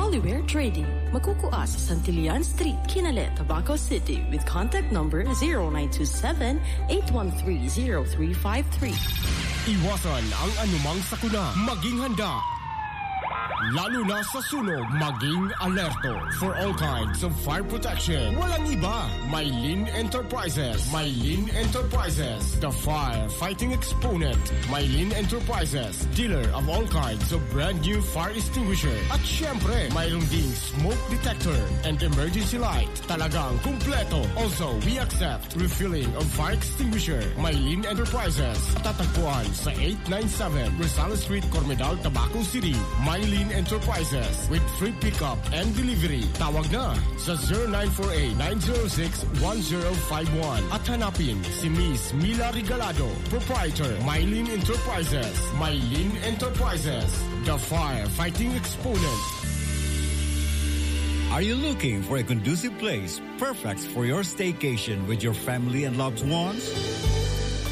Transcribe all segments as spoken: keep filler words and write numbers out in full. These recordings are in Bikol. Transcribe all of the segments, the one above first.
Oliver Trading. Makukua sa Santillan Street, Kinale, Tabaco City with contact number zero nine two seven, eight one three, zero three five three. Iwasan ang anumang sakuna. Maging handa. Lalo na sa sunog, maging alerto. For all kinds of fire protection, walang iba. Mylene Enterprises. Mylene Enterprises, the fire fighting exponent. Mylene Enterprises, dealer of all kinds of brand new fire extinguisher. At syempre, mayroon ding smoke detector and emergency light. Talagang kumpleto. Also, we accept refilling of fire extinguisher. Mylene Enterprises, tatagpuan sa eight nine seven Rosales Street, Cormedal, Tabaco City. Mylene Enterprises with free pickup and delivery. Tawag na sa zero nine four eight, nine zero six, one zero five one at hanapin si Miss Mila Regalado, proprietor, Mylene Enterprises. Mylene Enterprises, the firefighting exponent. Are you looking for a conducive place perfect for your staycation with your family and loved ones?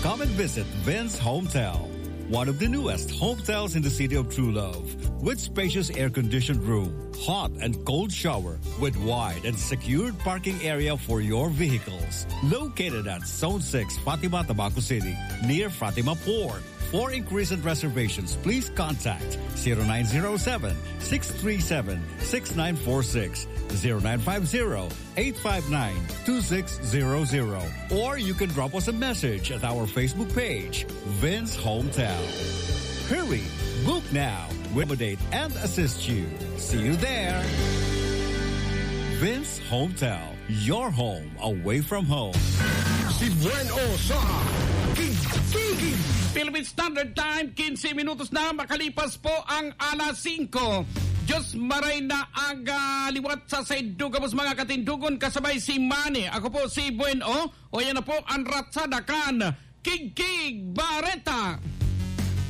Come and visit Vince Hometel, one of the newest hometels in the city of True Love, with spacious air-conditioned room, hot and cold shower, with wide and secured parking area for your vehicles. Located at Zone six, Fatima, Tabaco City, near Fatima Port. For inquiries and reservations, please contact zero nine zero seven, six three seven, six nine four six, zero nine five zero, eight five nine, two six zero zero. Or you can drop us a message at our Facebook page, Vince Hometel. Hurry! Book now! We accommodate and assist you. See you there! Vince Hometel, your home away from home. Si Buen O sa Kikiki. Philippine Standard Time, quince minutos na makalipas po ang alas singko. Diyos maray na aga liwat sa saindo gabos mga katindogon kasabay si Manny. Ako po si Buen O. O yan na po ang ratsada kan Kikiki Bareta.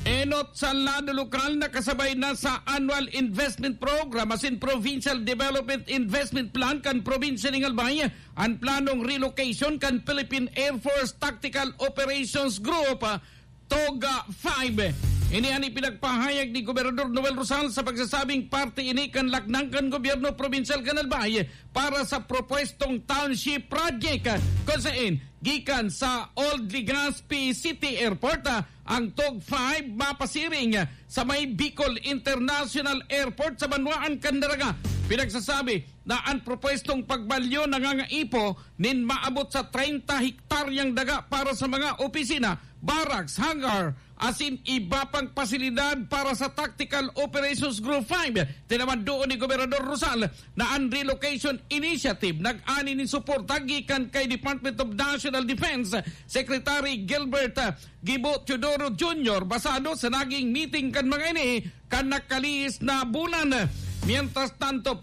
Enot sa lado lokal na kasabay na sa Annual Investment Program asin Provincial Development Investment Plan kan Probinsya nin Albay an planong relocation kan Philippine Air Force Tactical Operations Group, ah, TOG five. Ini an ipinagpahayag ni Gobernador Noel Rosal sa pagsasabing parte ini kan laknang kan gobyerno probinsyal kan Albay para sa propuestong township project, kung sain gikan sa Old Legazpi City Airport, ah, ang TOG five mapasiring, ah, sa may Bicol International Airport sa banwaan kan Daraga. Pinagsasabi na an propuestong pagbalyo nangangaipo nin maabot sa treinta hektaryang daga para sa mga opisina, barracks, hangar, asin iba pang pasilidad para sa Tactical Operations Group five. Tinawan doon ni Gobernador Rosal na an relocation initiative nag-ani nin suporta gikan kay Department of National Defense Secretary Gilbert, ah, Gibo Teodoro Junior basado sa naging meeting kan mga ini kan nakalihis na bulan. Mientras tanto,